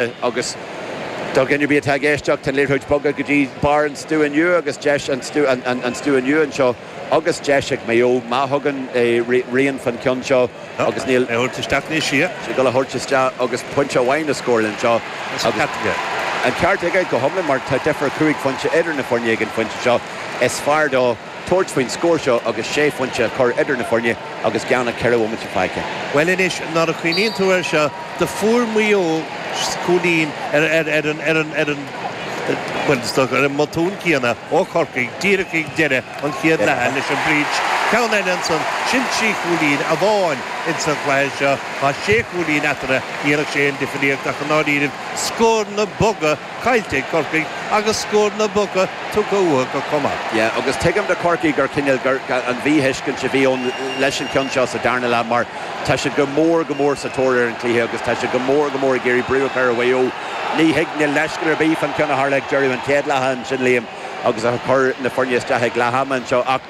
Agus do dhuine ar bith atá ag éisteacht, tá an liathróid bogtha go dtí barr an stua nua agus deis an stua nua anseo agus deis ag Maigh Eo má thugann Rian fán cheann seo agus níl. É a thabhairt isteach anois, yeah. Sé ag dul a thabhairt isteach agus pointe amháin a scóráil anseo. Agus an ceart aige. An ceart aige go hiomlán mar tá difear chúig phointe idir na foirne ag an phointe seo. Is fearr dó. tabhairt faoin scór seo agus sé phointe a chur idir na foirne agus gan ach 4 bhomaite fágtha. Bhuel anois, nuair a chuimhníonn tú air seo, do fuair Maigh Eo cúilín ar ar ar an ar an ar an bhuel is dócha ar an mbotún céanna ó Chorcaigh díreach ag deireadh an chéad leatha leis an bpreach. Ceann eile ansan, sin trí chúilín amháin ins an chluiche seo. Tá sé chúilín eatarthu, ní dhéanfadh sé aon difríocht ach i ndáiríribh scóranna boga caillte ag Corcaigh agus scóranna boga tugtha uathu acu chomh maith. Yeah, agus tuigim do Chorcaigh gur cineál gur an mhíthuiscint a bhí ann leis an cheann seo sa darna leath mar tá siad go mór go mór sa tóir ar an chluiche agus tá siad go mór go mór ag iarraidh brú a chur ar Mhaigh Eo. Ní thig, níl leithscéal ar bith fán cheann a tharla ag deireadh an chéad leatha ansin, Liam, agus a chuir na foirne isteach ag leath ama anseo ach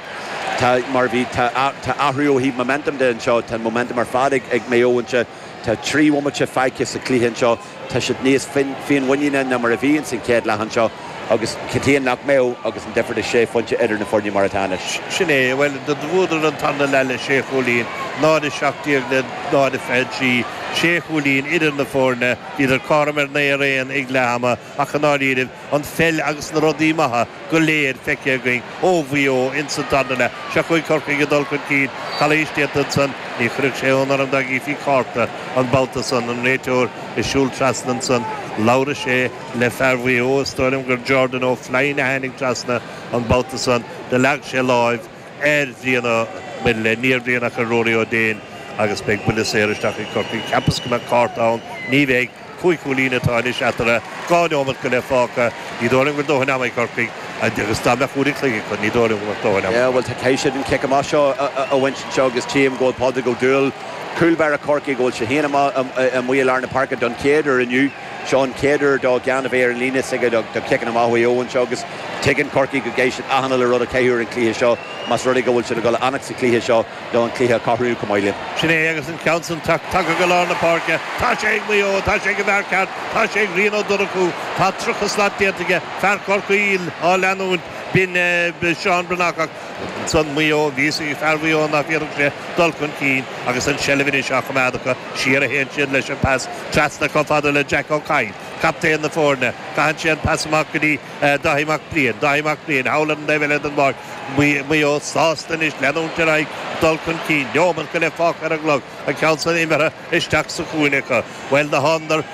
tá, mar bhí, tá, tá athrú ó thaobh momentum de anseo, tá an momentum ar fad ag, ag Maigh Eo anseo, tá 3 bhomaite fágtha sa chluiche anseo. Tá siad níos féinmhuiníne ná mar a bhí ins an chéad leath anseo agus cad chuige nach mbeadh agus an difear de sé phointe idir na foirne mar atá anois. Sin é, bhuel, do bhuadar an tarna leath le sé chúilín, 0-17 le 0-23, sé chúilín idir na foirne, bhíodar cothrom ar 9 ar 1 ag leath ama ach i ndáiríribh, an pheil agus na rudaí maithe go léir feicthe againn ó Mhaigh Eo ins an tarna leath. Seo chugainn Corcaigh ag dul chun cinn. Calaois déanta ansan. Ní chuirfeadh sé ionadh orm dá gcífí cárta an babhta san. An réiteoir ag siúl trasna ansan. Labhraigh sé le fear Mhaigh Eo, is dóigh liom gur Jordan O'Flynn a tháinig trasna an babhta san. Do leag sé láimh ar Bhrian Ó, bhuel, ní ar Bhrian ach ar Rory Ó Déin agus beidh buille saor isteach ag Corcaigh. Cheapas go mbeadh cárta ann. Ní bheidh. Cúig chúilín atá anois eatarthu, 2 neomat go leith fágtha. Ní dóigh liom go bhfuil dóthain ama ag Corcaigh agus dá mbeadh uair an chloig acu, ní dóigh liom go mbeadh dóthain ama acu. Yeah, bhuel, tá caithfidh siad an cic amach seo a bhaint anseo agus tchím go bhfuil Pádraig Ó Dúill, cúl báire Chorcaí, go bhfuil sé féin amuigh i lár na páirce don chéad uair inniu. Seo an chéad uair dó gan a bheith ar an líne s'aige do chiceanna amach Mhaigh Eo anseo agus tuigeann Corcaigh go gcaithfidh siad achan uile rud a chaitheamh ar an chluiche seo más rud é go bhfuil siad ag dul a fhanacht sa chluiche seo. nó an cluiche a chothromú chomh maith linn. Sin é agus an ceann san tagtha go lár na páirce. Tá sé ag Maigh Eo, tá sé ag an bhfear ceart, tá sé ag Rian Ó Donnchú. Tá 30 slat déanta aige, fear Chorcaí á leanúint, b'in Seán Breathnach ach ansan Maigh Eo, bhí fhios ag fear Mhaigh Eo nach bhféadfadh sé dul chun cinn agus an tseilbh anois á choimeád acu. Siar a théann siad leis an pas trasna chomh fada le Jack Ó Cadhain, captaen na foirne. Caitheann sé an pas amach go dtí Dáithí Mac Briain, Dáithí Mac Briain, thall ar an dtaobh eile den bpáirc. Maigh Eo sásta anois leanúint ar aghaidh, dul chun cinn. Neomat go leith fágtha ar an gclog. An ceann san imeartha isteach sa chúinne acu. Bhuel, do thánadar,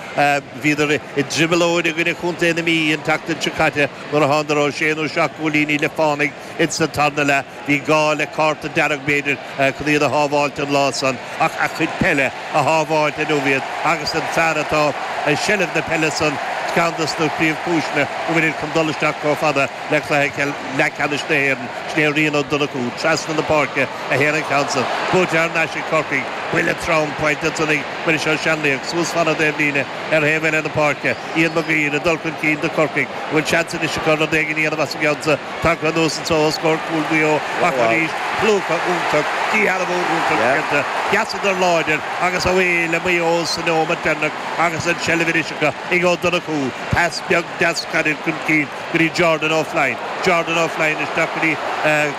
bhíodar i dtrioblóid i gcoinne Chontae na Mí an tseachtain seo caite nuair a thánadar ó sé nó seacht gcúilíní le fánaigh ins an tarna leath. Bhí gá le cárta dearg, b'fhéidir, chun iad a shábháilt an lá san, ach a chuid peile a shábháilt inniu iad agus an fear atá i seilbh na peile san ceann dos na príomhchúiseanna go bhfuilid chun dul isteach chomh fada le cluiche leathcheannais na hÉireann, sin é Rian Ó Donnchú. Trasna na páirce a théann an ceann san. Buaite thar n-ais ag Corcaigh. Buille trom faighte ansan ag Muiris Ó Seanlaoich suas fán dtaobhlíne ar thaobh eile na páirce. Ian Mag Uidhir ag dul chun cinn do Chorcaigh. An bhfuil seans anois acu rud éigin a dhéanamh as an gceann seo? Tagtha anuas anso os comhair cúl Mhaigh Eo ach arís, plúchadh iontach, díshealbhú iontach déanta. Sheasadar láidir agus away le Maigh Eo sa neomat deireanach agus an tseilbh anois acu ag Ó Donnchú. Pas beag deas gairid chun cinn go dtí Jordan O'Flynn. Jordan O'Flynn isteach go dtí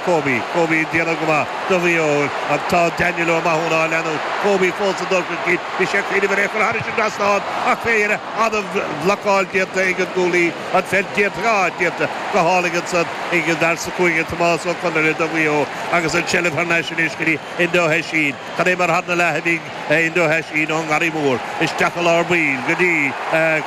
Kobe. Kobe ag déanamh go maith do Mhaigh Eo ach tá Daniel Ó Mathúna á leanúint. Kobe fós ag dul chun cinn. Bhí sé ag cuimhneamh ar é a chur thairis an dtrasnán ach fé dheireadh an-bhlocáil déanta ag an gcúlaí. An pheil déanta, ah, déanta go hálainn ansan ag an bhfear sa chúinne, Tomás Ó Conaire do Mhaigh Eo agus an tseilbh thar n-ais anois go dtí Enda Ó hEisín. Cad é mar tharna leath a bhí ag Enda Ó hEisín ón nGarraí Mór isteach i lár baill go dtí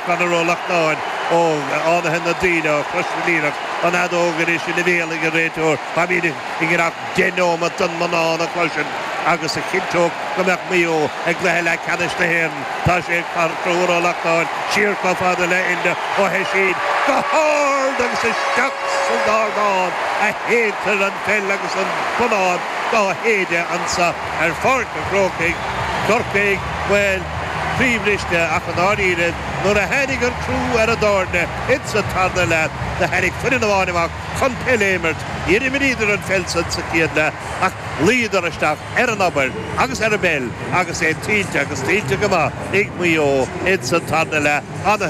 Conor Ó Lachtnáin ó Fhánaithe na Daoile ó Chrois na Liathrach. An fheadóg anois ina bhéal ag an réiteoir. Táimid i ngiorracht deich neomat don mbonnán a chloisint agus a chinnteodh go mbeadh Maigh Eo i gcluiche leathcheannais na hÉireann. Tá sé ag Conchúr Ó Lachtnáin siar chomh fada le Enda Ó hEisín go hard agus isteach san ardán a shéidtear an pheil agus an bonnán dá shéideadh anso ar Pháirc an Chrócaigh. Corcaigh, bhuel, Croíbhriste ach i ndáiríre nuair a tháinig an crú ar an dá fhoirne ins an tarna leath do tháinig foireann amháin amach chun peil a imirt. Níor imríodar an pheil san sa chéad leath ach luíodar isteach ar an obair agus ar an bpeil agus é tuillte agus tuillte go maith ag Maigh Eo ins an tarna leath.